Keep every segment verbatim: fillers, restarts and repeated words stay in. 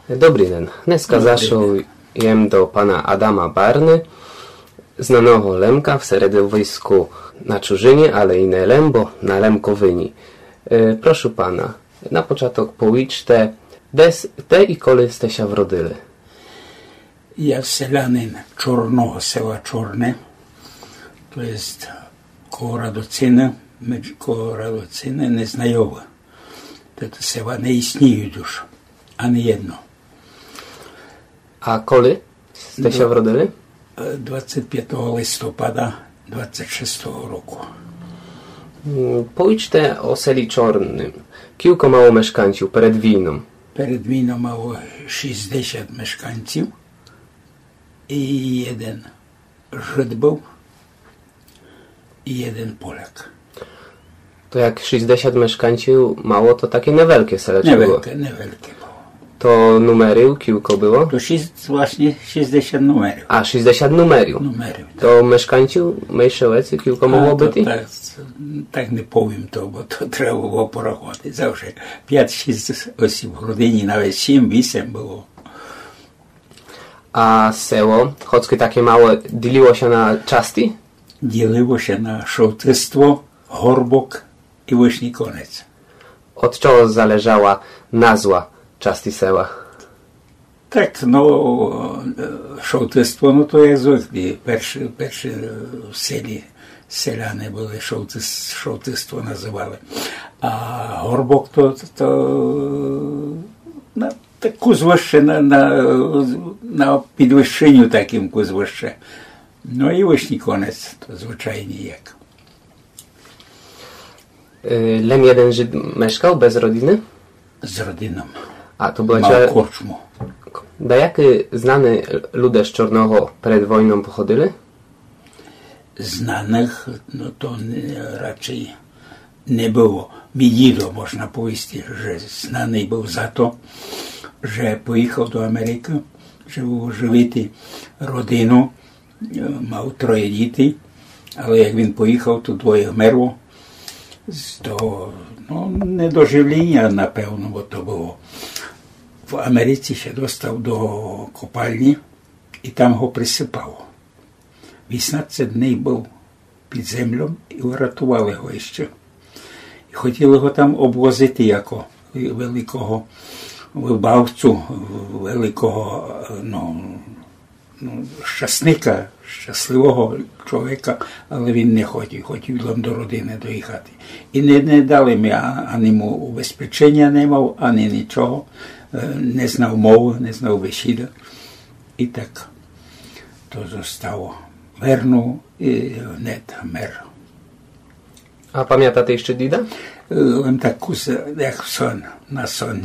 Добрый ден. Днеска зашол єм до пана Адама Барны, знаного Лемка в середовиску на чужыні, але і не лем, бо на Лемковыні. Е, прошу пана, на початок повічте, де с-, де і коли сте ся вродили? Я селянин Чорного, села Чорне, то єст коло Радоцины, медж-, коло Радоцины, Незнайовы. Тото села не існують уж, ани єдно. А коли сте ся вродили? Е, двадцять пятого листопада двадцять шестого року. М, повічте о селі Чорным. Кілько мало мешканців перед війном? Перед війном мало шістдесят мешканців і єден Жид быв і єден Поляк. То як шістдесят мешканців мало, то таке невельке селечко было. Невельке, невельке было. То нумерів кілько было? То шість, власне, шістдесят нумерів. А, шістдесят нумерів. Нумерів, так. То мешканців менше веці кілько могло быти? А, то так, так не повім то, бо то треба было пораховати. Завжди пять-шість осіб в родині, навіть сім-вісім было. А село, хоцкы таке мале, ділило ся на части? Ділило ся на Шовтыство, Горбок і Вышній Конець. Од чого залежала назва части села? Так, ну, е, Шовтыство, ну, то як звыклі, перші, перші, е, в селі селяни были, Шовтыс-, Шовтыство называли. А Горбок то, то, то, на, так кус выше, на, на, на підвищенню такым кус выше. Ну і Вышній Конець, то звычайні як. Е, лем єден Жид мешкал без родины? З родином. А, то была... Мав корчму. Даякы знаны люде з Чорного перед войном походили? Знаных, ну, то не, рачей не было. Мій дідо, можна повісти, же знаный быв за то, же поіхав до Америкы, жебы оживити родину, е, мав троє дітей, але як він поіхав, то двоє вмерло з того, ну, недоживліня, напевно, бо то было. В Америці ся достав до копальні і там го присыпало. Вісімнадцять дней быв під землём і врятовали го іщы. І хотіли го там обвозити яко великого выбавцю, великого, ну, ну, щасника, щасливого чоловіка, але він не хотів, хотів лем до родины доїхати. І не, не дали ми, а-, ани му убезпеченя не мав, ани нічого, е, не знав мовы, не знав бесіды. І так то зостало. Вернув і гнет вмер. А памятате іщы діда? Е, лем так кус, як сон, на сон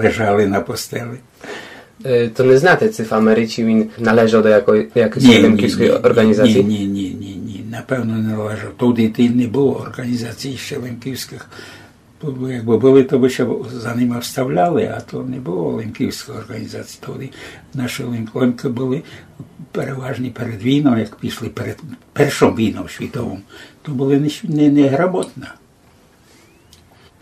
лежали на постели. Е, то не знате, ци в Америці він належав до якой, якоїсь лемківської орґанізації? Ні, ні, ні, ні, ні. Напевно, не належав. Тогды не было орґанізацій іщы лемківськых. Бо якбы были, то бы ся за нима вставляли, а то не было лемківської орґанізації. Тогды наші лем-, лемкы были переважні перед війном, як пішли перед Першом війном світовом, то были не, не, неграмотні.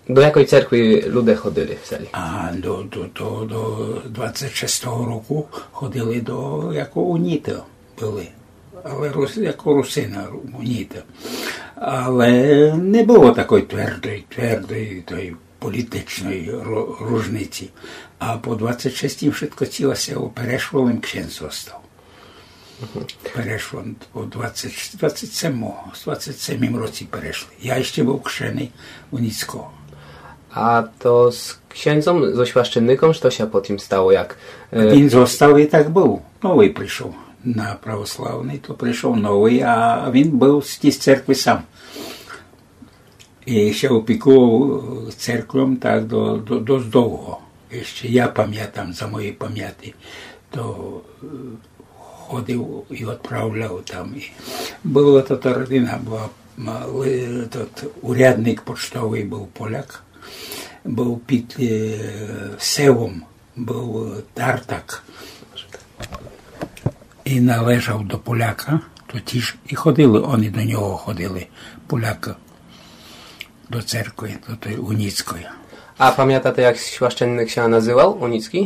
До якой церкви люде ходили в селі? А до, до, до, до двадцять шестого року ходили до, як уніты были. Але рус-, як русины, уніты. Але не было такой твердой, твердой той політичной ру-, ружниці. А по двадцять шестім вшытко ціле село перешло, лем ксендз зостав. Перешло по двадцять, двадцять семого, в двадцять семім році перешли. Я іщы быв кшеный у Ніцького. А то з ксендзом, зо священником, што ся потім стало, як, е... Він зостав і так быв. Новый пришов на православный, то пришов новый, а він быв з тієї церкви сам. І ся опікував церквом так до, до, досить довго. Іщы я памятам, за моєї памяти, то, е, ходив і одправляв там. І была то та родина, была, м, ли-, тот урядник почтовый быв поляк, быв під, е, селом, быв Тартак. І належав до поляка, то тіж і ходили, они до нього ходили, полякы, до церкви, до той уніцької. А памятате, як священник ся называв, уніцькій?